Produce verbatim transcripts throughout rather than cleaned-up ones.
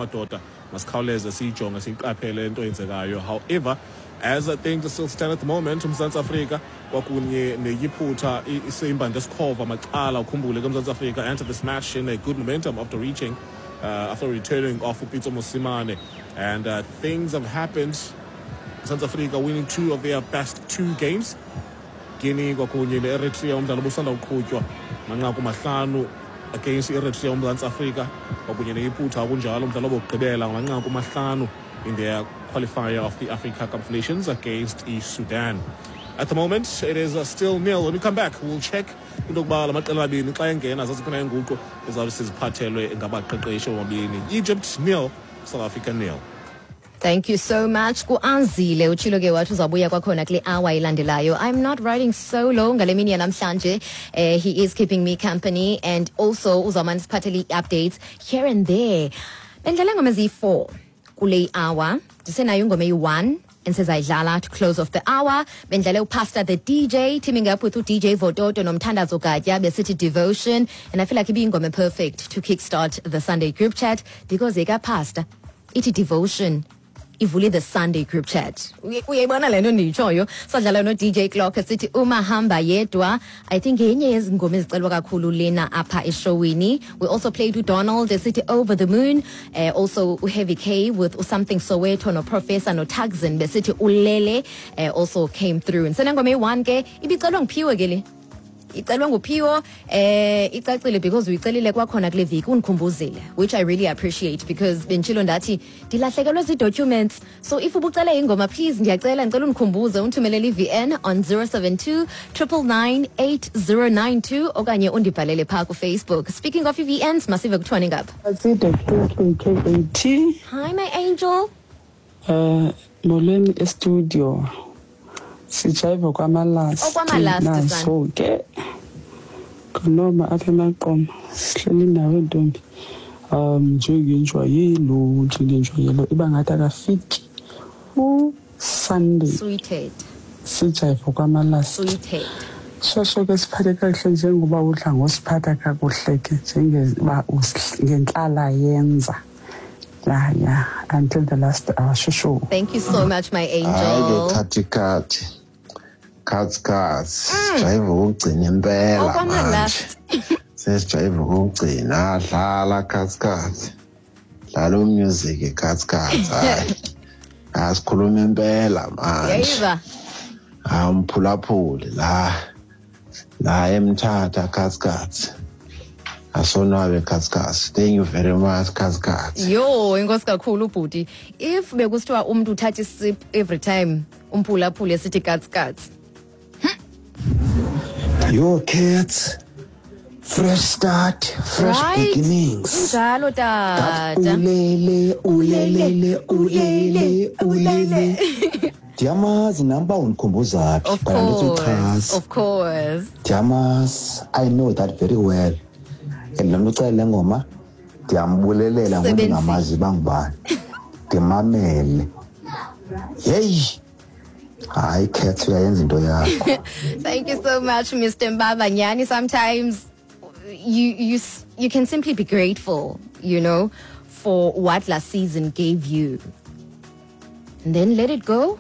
Madoda, masikhawuleze siyijonge, siyiqaphele into eyenzekayo. However, as things still stand at the moment, uMzantsi Afrika kwakunye neYiphutha isimba ndesikhova macala. Ukhumbule ke, uMzantsi Afrika entered this match in a good momentum after reaching uh, after returning off uPitso Mosimane, and uh, things have happened. South Africa winning two of their best two games, Guinea kwakunye ne-Eritrea. Umdlalo obusanda uqhutywa, manqaku mahlanu against i-Eritrea uMzantsi Afrika, kwakunye neYiphutha kunjalo, umdlalo obokugqibela ngamanqaku mahlanu in their qualifier of the Africa Cup of Nations against i-Sudan. At the moment it is uh, still nil. When we come back, we'll check into yokuba la maqela amabini xa engena zaziphi na iinguqu ezawube siziphathelwe ngabaqeqeshi bobabini. Egypt nil, South Africa nil. Thank you so much kuAnzile. Utshilo ke wathi uzabuya kwakhona kule hour ilandelayo. I'm not riding solo ngale mini yanamhlanje. uh, he is keeping me company and also uzawumane siphathele ii-updates here and there. Bendlala ngoma eziyi-four kule hour, ndisenayo ingoma eyi-one endisezayidlala to close off the hour. Bendlale uPastor the D J teaming up with u-D J Vototo noMthandazo Gatya besithi "Devotion", and I feel like ibiyingoma perfect to kickstart the Sunday group chat because ekaPastor ithi "Devotion" ivule the Sunday group chat. Uye- uyayibona le nto ndiyitshoyo. Sadlala no-D J Clock esithi "Umahamba Yedwa". I think yenye yezingoma ezicelwa kakhulu lena apha eshowini. We also played uDonald esithi "Over the Moon", uh, also uHeavy K with "Something Soweto", noProfessor noTaxin besithi "Ulele" uh, also came through. Ndisenengoma eyi-one ke, ibicelwa nguphiwe ke le, icelwe nguphiwo. eh icacile because uyicelile kwakhona kule viki, undikhumbuzile, which I really appreciate because benditshilo ndathi ndilahlekelwe zii-documents. So if ubucele ingoma, please, ndiyacela, ndicela undikhumbuze, undithumelele i-V N on zero seven two nine nine nine eight zero nine two okanye undibhalele phaa kuFacebook. Speaking of i-V Ns, masive kuthiwani ngapha. Aside K K A T. Hi, my angel. Eh, molweni e-studio. Sijayiva kwamalasti. Okwamalasti, son. Naso ke. Konoma apha eMaqoma. Sihleli nawe, ntombi. Um njengenjwayelo, njengenjwayelo iba ngathi akafiki u Sunday. Sweethead. Sijayiva kwamalasti. Sweethead. Shosho ke, siphathe kakuhle njengoba udla ngosiphatha kakuhle ke, njengeba us- ngentlala yenza. Ya ya until the last hour, shosho. Thank you so much, my Hayi ke, angel. Khathi khathi khathi khathi, sijayiva ukugcina impela manje. Okwamalast. Sesijayiva ukugcina. Dlala, khathi khathi, dlala umusic, khathi khathi. Hayi, asikhuluma impela manje. Yayiva. Hayi, umphulaphuli la la eMthatha, khathi khathi, asonwabe, khathi khathi. Thank you very much, khathi khathi. Yho, inkosi kakhulu ubhuti. If bekusithiwa umntu uthatha isip every time umphulaphuli esithi katsi katsi. Yo, kids, fresh start, fresh Right? beginnings. Injalo, tata. Ulele, ulelele, ulele, ulele. Ndiyamazi nam uba undikhumbuza phi, Of but andithi course. uchaza. Of course. Ndiyamazi, I know that very well. And le mntu ucela le ngoma ndiyambulelela ngoba Sebenzile. ndingamazi uba ngubani. Ndimamele. Yeyi, hayi Cat, uyayenza into yakho. Thank you so much, Mister Mbaba. Nyani, sometimes you you s- you can simply be grateful, you know, for what last season gave you. And then let it go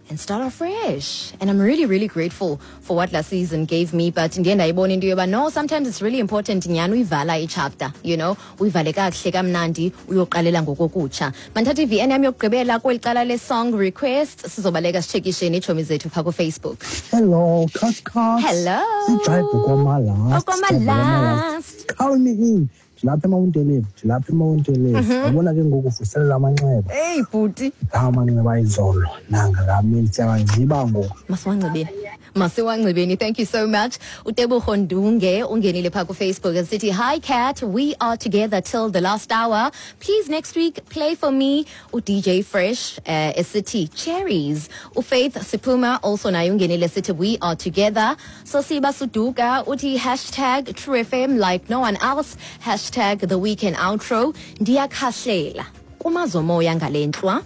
and start afresh. And I'm really, really grateful for what last season gave me. But ndiye ndayibona into yoba no, sometimes it's really important nyhani uyivala ichapter, you know, uyivale kakuhle kamnandi, uyoqalela ngokokutsha. Mandithathe i-V N yam yokugqibela kweli cala le-song request, sizobaleka sitshekisheni iitshomi zethu phaa kuFacebook. Hello, Cut Cut. Hello. Sijayiva okwamalast. Okwamalast. Count me in. Ndilapha eMount Elive, ndilapha eMount Elive. Yabona ke ngoku vuselela amanxeba. Eyi bhuti. La amanxeba ayizolo nangakamini siyawanxiba ngoku. Masiwangcibeni, masiwangcibeni. Thank you so much. UTebogo Ndunge ungenile phaa kuFacebook esithi, "Hi Cat, we are together till the last hour. Please, next week play for me uD J Fresh uh, esithi 'Cherries'." UFaith Siphuma also naye ungenile esithi, "We are together." Sosiba Suduka uthi, hashtag True F M like no one else, hashtag the weekend outro. Ndiyakhahlela kumazomoya ngale ntlwa,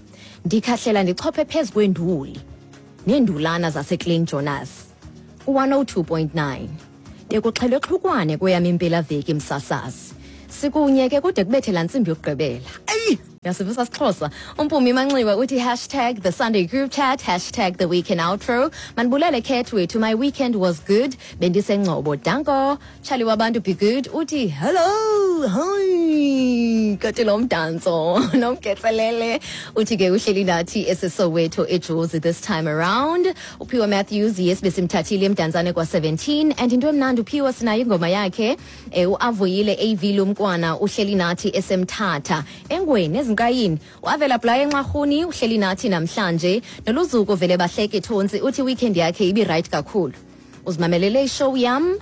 ndikhahlela ndichophe phezu kwenduli neendulana zaseClean Jonas ku-one oh two point nine. Bekuxhelwe xhukwane kweyam impelaveki, msasazi. Sikunye ke kude kubethe laa ntsimbi yokugqibela. Eyi. Yasivisa sixhosa. Umpumi Manxiwa uthi hashtag the Sunday group chat, hashtag the weekend outro. Manibulele Cat wethu, my weekend was good. Bendisengcobo. Danko. Charlie wabantu be good. Uthi hello, hi. Kati lo mdanso nomketselele. Uthi ke uhleli nathi eseSoweto eJozi this time around. Uphiwa Matthews, yes, besimthathile emdantsane kwa seventeen, and into emnandi uphiwa sinayo ingoma yakhe eh, uavuyile A V Lumkwana uhleli nathi esemthatha engweni ezinkayini. Uavela Blaya enxarhuni uhleli nathi namhlanje. Noluzuko vele bahleke thonsi uthi weekend yakhe ibi right kakhulu. Uzimamelele ishow yam.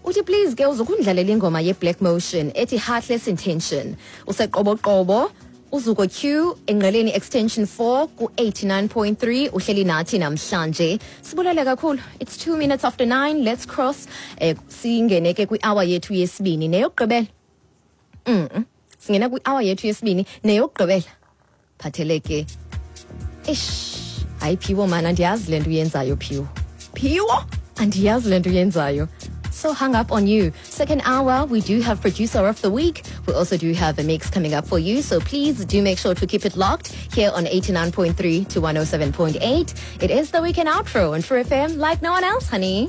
Uthi please ke uzokundlalela ingoma ye Black Motion ethi Heartless Intention. Useqoboqobo Uzuko Q engqeleni extension four ku eighty-nine point three uhleli nathi namhlanje. Sibulele kakhulu. It's two minutes after nine. Let's cross eh, singene ke kwi hour yethu yesibini neyokugqibela. Mhm. Singena kwi hour yethu yesibini neyokugqibela. Phatheleke. Eish, hayi Phiwo man, andiyazi le nto uyenzayo Phiwo. Phiwo, andiyazi le nto uyenzayo. So hung up on you. Second hour, we do have producer of the week. We also do have a mix coming up for you. So please do make sure to keep it locked here on eighty-nine point three to one oh seven point eight. It is the weekend outro on True F M like no one else, honey.